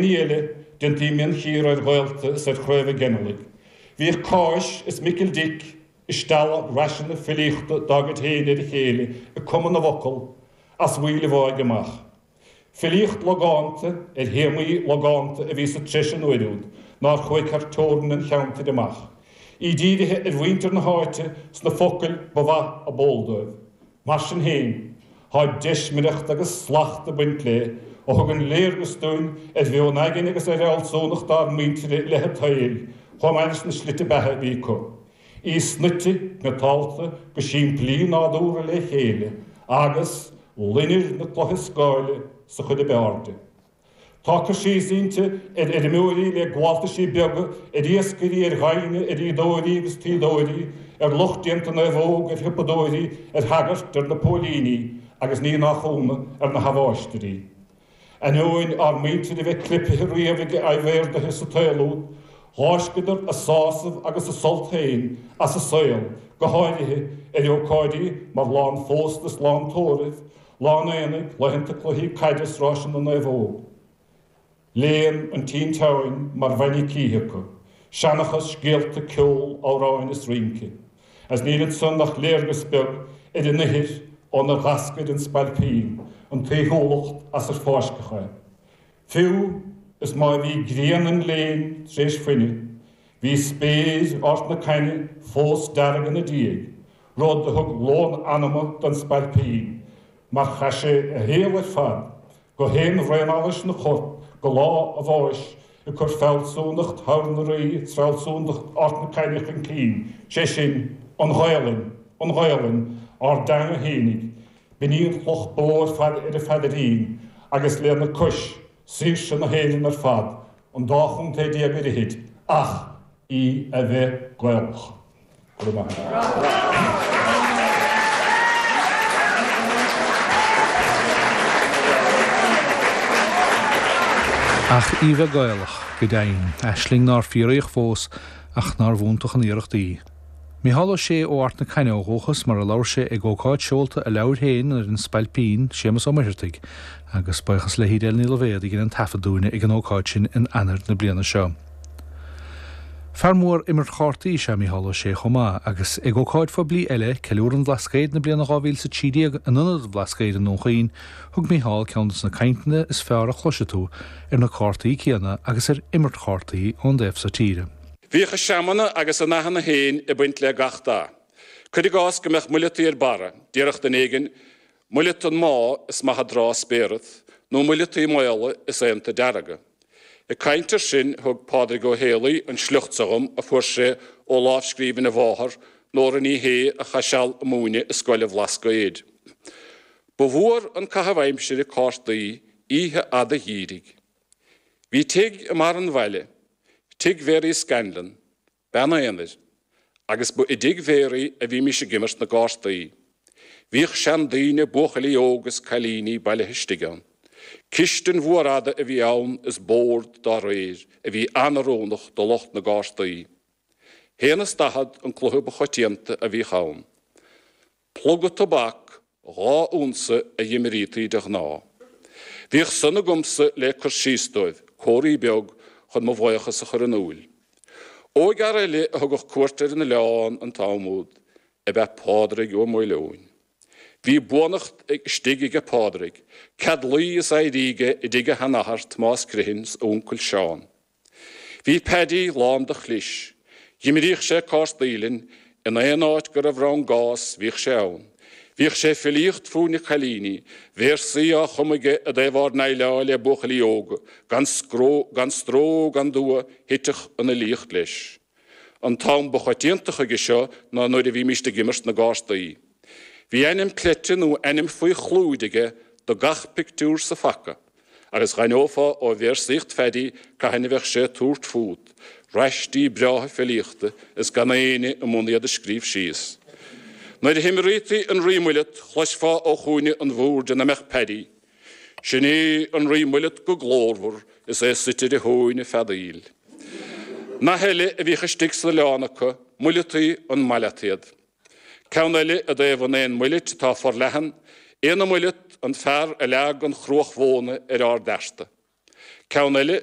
Ní eile, déantaí mionchíoradh ar ghaolta is ar chraobha ginealaigh. Bhíodh Cáis is Micil Dic ag stealladh raiseanna filíochta dá gcuid féin ar a chéile ag cumadh na bhfocal as bhfuíoll an bháidh amach. Filíocht logánta ar théamaí logánta a bhí sa treis an uair úd, nár chuaigh thar teorainn an cheantair amach. Í dírithe ar mhuintir na háite sna focail ba mhaith ab eol dóibh. Mar sin féin, tá deismireacht agus slacht ag baint léi a thugann léargas dúinn ar mheon aigne agus ar fhealsúnacht ár muintire i leith an tsaoil, chomh maith leis na slite beatha a bhí acu. Í snoite, cniotáilte go simplí nádúrtha le chéile agus loinnir na cloiche scáile sa chuid ab fhearr di. Tá cur síos inti ar fheirmeoirí le gabháltaisí beaga, ar iascairí, ar ghaibhne, ar fhíodóirí agus tuíodóirí, ar lucht déanta naomhóg, ar shiopadóirí, ar shagairt, ar na póilíní agus ní nach ionadh, ar na habháistirí. Ainneoin ár muintir a bheith clipthe riamh ag adhmhaordaithe sa tsaol úd, dh'fháisceadar a sásamh agus a sult féin as an saol, go háirithe ar ócáidí mar lá an phósta is lá an tórraimh, Lá an aonaigh, laethanta cluichí caide is ráiseanna na naomhóg. Léann an tinteáin mar bhainne cíche acu. Seanchas, scéalta, ceol, amhráin is rince. Agus níl ansan ach léargas beag ar an ithir ónar dh'eascair an spailpín, an tsaoithiúlacht as ar fáisceadh é. Fiú is má bhí grian an léinn tar éis fuineadh, bhí spéir Ard na Caithne fós dearg ina diaidh, rud a thug lón anama don spailpín, mar chaith sé a shaol ar fad, go haon bhraon allais ina chorp, go lá a bháis, ag cur fealsúnacht Thomhair na Rí is fealsúnacht Ard na Caithne chun cinn, sé sin, an Ghaelainn, an Ghaelainn, ár dteanga fhéinig, B'in í an chloch ba mhó ar fad ar a pheadairín agus lena cois, saoirse na hÉireann ar fad, an dá chontae déag ar fhichid, ach í a bheith Gaelach. Go raibh maith agat. Ach í a bheith Gaelach, go deimhin, aisling nár fíoraíodh fós ach nárbh fhiúntach an iarracht í. Micheál Ó Sé ó Ard na Caithne ó dhúchas, mar a labhair sé ag ócáid seolta a leabhair féin ar an Spailpín, Séamus Ó Muircheartaigh, agus buíochas le hEdel Ní Loibhéad a dhein an taifead dúinne ag an ócáid sin in Eanáir na bliana seo. Fear mór imirt chártaí is ea Micheál Ó Sé chomh maith, agus ag ócáid phoiblí eile, Ceiliúradh an Bhlascaoid na bliana 2013 in Ionad an Bhlascaoid i nDún Chaoin, thug Micheál ceann de na cainteanna is fearr a chloisfidh tú ar na cártaí céanna agus ar imirt chártaí ón dtaobh so tíre. Bhíodh a seamanna agus a nathanna féin ag baint le gach dath. Cuir i gcás go mbeadh muileataí ar barra, déarfadh duine éigin, Muileat an mádh is maith an dtráth spéarat, nó muileataí maola is aonta dearga. Ag caint air sin thug Pádraig Ó Héalaí an sliocht seo dhom a fuair sé ó lámhscríbhinn a mháthar, Nóra Ní Shé, a chaith seal ag múineadh i Scoil an Bhlascaoid. Ba mhór an caitheamh aimsire cártaí oíche fhada gheimhridh. Bhí tigh i mbarr an bhaile, tigh Mhary Scanlon, bean aonair, agus ba i dtigh Mhary a bhímis ag imirt na gcártaí. Bhíodh seandaoine, buachaillí óga is cailíní bailithe istigh ann. Cistin mhór fhada a bhí ann is bord dá réir a bhí an-oiriúnach do lucht na gcártaí. Haon is 40 an cluiche ba choitianta a bhíodh ann. Pluga tobac 2 unsa a dh'imrítaí de ghnáth. Bhíodh san agamsa le cur síos dóibh, comharthaí beag chun mo bhaochas a chur in úil. Óigfhear eile a thugadh cuairt ar an oileán an t-am úd ab ea Pádraig Ua Maoileoin. Bhí buannacht istigh aige Pádraig, cead luí is éirí aige i dtigh a sheanathar Tomás Criomhthain 's a uncail Seán. Bhí Paddy lán de chlis. Dh'imríodh sé cártaí linn, in aon áit go raibh rann gás bhíodh sé ann. Bhíodh sé ag filíocht fúinn na cailíní, véarsaí á chumadh aige i dtaobh ár ndéileáil le buachaillí óga, gan scró, gan stró gan dua thiteadh an fhilíocht leis. An t-am ba choitianta chuige seo ná nuair a bhímíst ag imirt na gcártaí. Bhí ainm cleite nó ainm faoi chlúid aige do gach pictiúr sa phaca. Agus dh'aithneofá ó véarsaíocht Phaddy cathain a bheadh sé ag tabhairt fút, raistí breátha filíochta is gan éinne i mbun iad a scríobh síos. Nuair a himrítaí an Rí Muileat chloisfeá ó chúinne an bhoird ina mbeadh Paddy, Sin é an Rí Muileat go glórmhar is é suite ar a thóin ag feadaíl. Nath eile a bhíodh istigh san oileán acu, Muileataí an maileataod. Ceann eile i dtaobh an éin muilit atá forleathan, Éanna Muileat, an fear a leag an chruach mhóna ar ár bhfearta. Ceann eile.